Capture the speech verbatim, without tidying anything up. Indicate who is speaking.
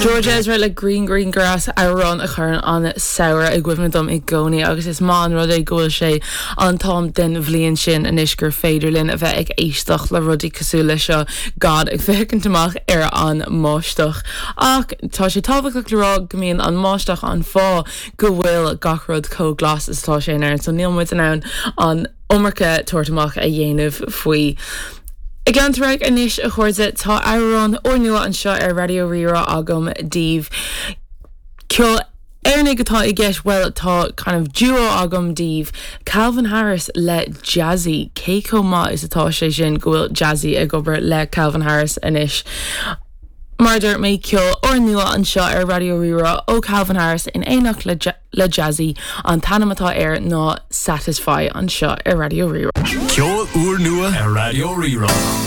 Speaker 1: George Ezra le Green Green Grass amhrán a chuireann an samhradh i gcuimhne dom i gcónaí agus is maith an rud é go bhfuil sé an t-am den bhliain sin anois gur féidir linn a bheith ag éisteacht le rudaí cosúil le seo gan ag féachaint amach ar an mbáisteach. Ach tá sé tábhachtach le rá go mbíonn an bháisteach an fáth go bhfuil gach rud chomh glas is atá sé in Éirinn, so níl muid in ann an iomarca tabhairt amach a dhéanamh faoi. Ag leanúint anois a chairde tá amhrán úrnua anseo ar Raidió Rí-Rá agam daoibh. Ceol Éireannach atá i gceist well tá kind of duo agam daoibh Calvin Harris le Jazzy cé chomh maith is atá sé sin go bhfuil Jazzy ag obair le Calvin Harris anois. Mar a dúirt mé ceol úrnua anseo ar Raidió Rí-Rá ó Calvin Harris in éineacht le, le Jazzy an t-ainm atá air ná Satisfy anseo ar Raidió Rí-Rá.
Speaker 2: Ceol úrnua ar Raidió Rí-Rá.